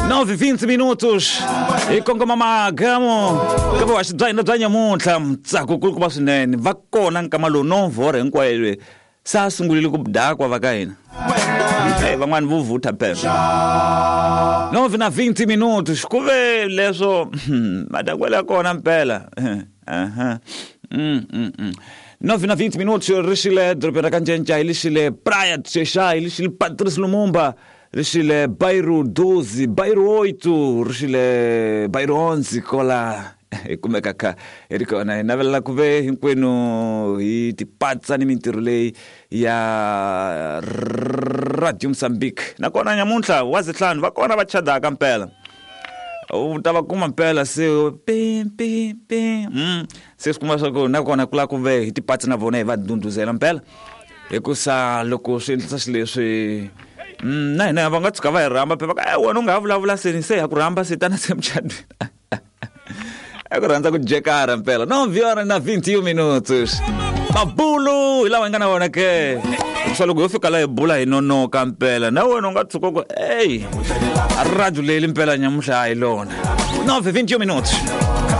9:20 minutos hi kongoma magamu ka vuhaxi bya hina bya nyamuntlha ntsako kulukumba swinene va kona nkama lowu novhora hinkwayo leyi se a sungurile ku dakwa va ka hina. Hey, van'wani vo vutha phela. 9 na 20 minutos ku ve leswo madakwelo ya kona mpela. Aha. 9 na 20 minutos ri xile dorobeni ra ka Ncencai li xile Praia de Xexai li xile Patrice Lumumba ri xile Bairro 12 Bairro 8 ri xile Bairro 11 kola hi kumeka kha hi ri kona. Hi navelela ku ve hinkwenu hi tipatsa ni mintirho leyi ya Radio Mozambique. Nakona nyamuntlha wa zihlanu va kona va chadaka mpela, u ta va kuma mpela se pi pi pi. Se swi kuma swa ku nakona ku lava ku ve hi tipatsa na vona hi va ndhundhuzela mpela, hikusa loko swi endlisa xileswi na hina va nga tshuka va hi rhamba phela va ku wena u nga ha vulavula seni se ha ku rhamba se tana se mucatwini. É ku rhandza ku jekara mpela. 9 horas na 21 minutos mabulu hi lawa hi nga na wona ke, swa loko yo fika la hi bula hi nonoka mpela, na wena u nga tshuka ku ey radio leyi mpela nyamuhla a hi lona. 9:21 minutos.